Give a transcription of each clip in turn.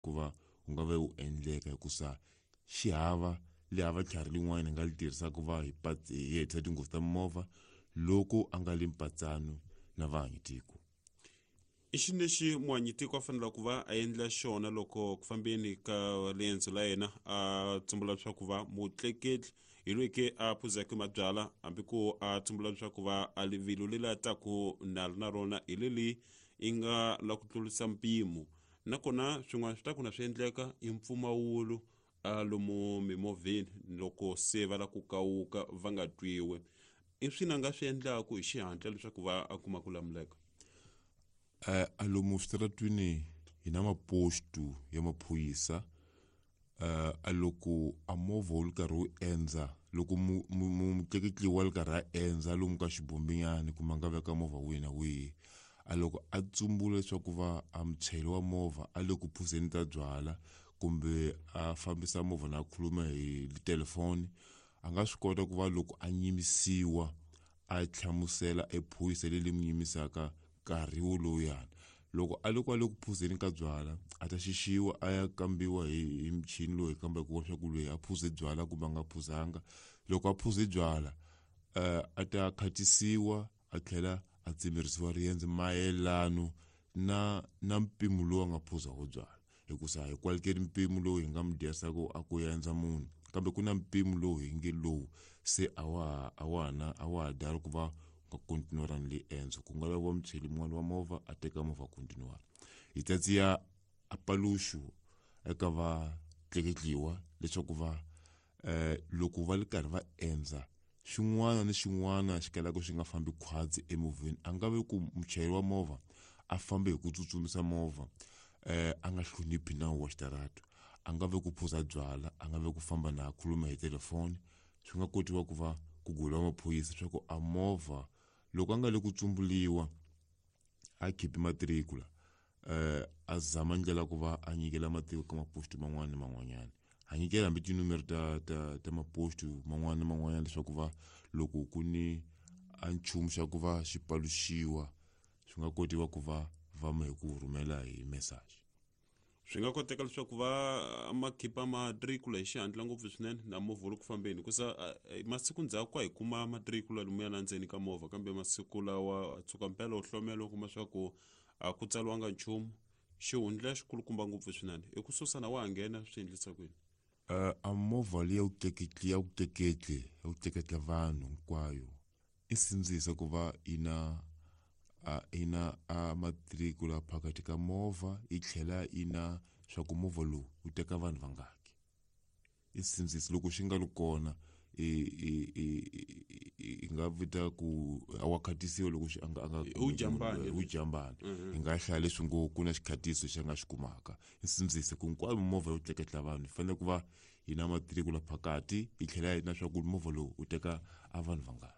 Ku va wu nga ve wu endleka hikusa xi hava le hava tlhari lin'wana hi nga li tirhisaka ku va hi hi hetisa tinghozi ta mimovha loko a nga li mpatsano na vahanyi-tiko. I xini lexi muhanyitiko a faneleke ku va a endla xona loko ku fambeni ka riendzo la yena a tsumbula leswaku va mutleketli hi loyi ke a phuzeke mabyala hambi ku a tsumbula leswaku va a rivilo leri a taku na na rona hi leli i nga la ku tlurisa mpimo nakona swin'wana swi ta ku na swi endleka i mpfumawulo a lomu mimovheni loko se va la ku kawuka va nga twiwi i swini a nga swi endlaku hi xihatla leswaku va a kuma ku lamuleka. A lomu switaratwini hi na mapostu ya maphorisa. A loko a movha wu ri karhi wu endza loko mutleketli wa ri karhi a endza lomu ka xibombinyana kumbe a nga veka movha wihi na wihi a loko a tsumbula leswaku va a muchayeri wa movha a le ku phuzeni ta byala kumbe a fambisa movha na khuluma hi telefoni a nga swi kota ku va loko a nyimisiwa a hlamusela e phorisa leri n'wi yimisaka nkarhi wolowuyani. Loko a le kwale ku phuzeni ka byala a ta xixiwa a ya kambiwa hi michini lowu hi kambaka wa swa ku loyi a phuze byala kumbe a nga phuzanga. Loko a phuze byala a ta khatisiwa a tlhela a tsemerisiwa riendzo mayelano na mpimo lowu a nga phuza wo byala. Hikusa hi kwalikeli mpimo lowu hi nga mi dyerisaku a ku endza munhu kambe ku na mpimo lowu hi nge lowu se a wa a wa na a wa ha dari ku va u nga kontinuarani le endzo ku nga laviwa muchayeri mun'wana wa movha a teka movha a kontinuara. Hi ta tsiya a paluxu eka va tleketliwa leswaku va loko va ri karhi va endza xin'wana ni xin'wana xi kalaka xi nga fambi khwatsi emovheni a nga ve ku muchayeri wa movha a fambe hi ku tsutsumisa movha a nga hloniphi nawu wa xitarata a nga ve ku phuza byala a nga ve ku famba na khuluma hi telefoni swi nga kotiwa ku va ku goliwa maphorisa swa ku a movha loko a nga le ku tsumbuliwa a khipi matirikula a zama ndlela ku va a nyikela matiko ka maposto man'wana ni man'wanyana a nyikela hambi tinumere ta maposto man'wana ni man'wanyana leswaku va loko ku ni a nchumu xa ku va xi paluxiwa swi nga kotiwa ku va va hi ku rhumela hi message. Swi nga koteka leswaku va ma khipa matrikula hi xihatla ngopfu swinene na movha wu ri ku fambeni hikusa masiku ndzhaku ka hi kuma matrikula lomuya la ndzeni ka movha kambe masiku lawa tshuka mpela u hlomela u kuma swa ku a ku tsariwanga nchumu xihundla xikulukumba ngopfu swinene i ku susa na wa ha nghena swi endlisa kwini. A movha leyi ya ku tleketli ya ku tleketli ya ku tleketla vanhu hinkwayo i sindzisa ku va yi na a yi na a matrikula phakathi ka movha yi tlhela yi na swa ku movha lowu wu teka vanhu vangaki i sindzisa loko xi nga ri kona i nga vita ku a wa khatisiwa loko xi a nga a nga U jambani. u jambani hi nga hlaya leswi ngo ku na xikhatiso xi nga xi kumaka i sindzise ku hinkwayo mimovha yo tleketla vanhu yi fanele ku va yi na matirikula phakati yi tlhela yi na swa ku movha lowu wu teka a vanhu vangani.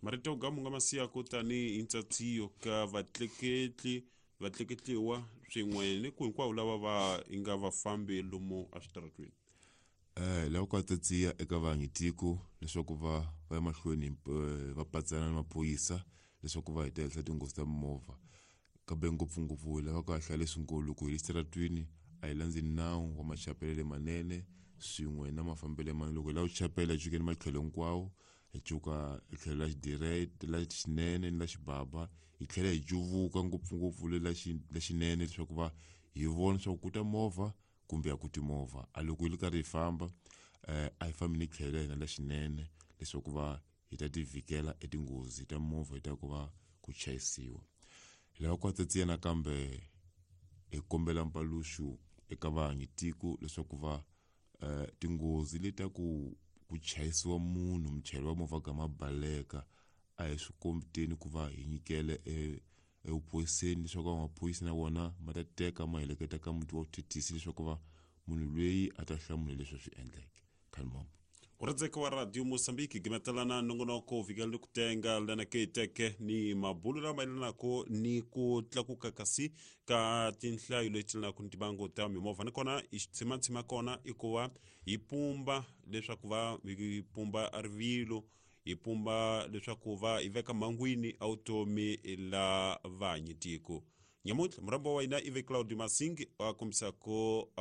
Marito yo gamu nga ma siyaka tanihi ntsatsiyo ka vatleketli vatleketliwa swin'we ni ku hinkwavo lava va nga vafambi lomu eswitaratweni. Lava ku tsatsiya eka vaanyitiko leswaku va va ya mahlweni va patsana na maphorisa leswaku va heta henhla tinghozi ta mimovha kambe ngopfungopfu hi lava ku hlaya leswi loko hi le xitaratwini a hi landzi nawu wa machapelele manene swin'we na mafambelo manene loko hi lava ku chapela hi cukeni matlhelo hinkwawo hi cuka hi tlhelo la xidirete la xinene ni la xibaba hi tlhela hi cuvuka ngopfungopfu le la xinene leswaku va hi vona leswaku ku ta movha kumbe a ku ti movha a loko hi ri karhi hi famba a hi fambi ni tlhelo la hina la xinene leswaku va hi ta ti vhikela etinghozi ta movha hi ta ku va ku chayisiwa. Hi lava ku tsatsiya nakambe hi kombela mpaluxu eka vaanyitiko leswaku va tinghozi leti ta ku chayisiwa munhu muchayeri wa movha gama baleka a hi swi kombeteni ku va hi nyikele evuphoriseni leswaku maphorisa na wona ma ta teka ma heleketa ka muti wa vuthethisi leswaku va munhu loyi a ta hlamula leswi a swi endleke. Khalmom. Uradzeka wa Radio Mozambique gimetelana nongonoko vikela ni ku tenga lana ke teke ni mabulo lama yelanako ni ku tlakuka kasi ka tinhlayo leti yelanaka ni tibango ta mimovha nakona i xitsimatsima kona i ku va hi pumba leswaku va hi pumba rivilo hi pumba leswaku va hi veka mhangwini a vutomi la vahanyitiko. Nyamuntlha murhambi wa hina ive Claudio Masingi a kombisako a.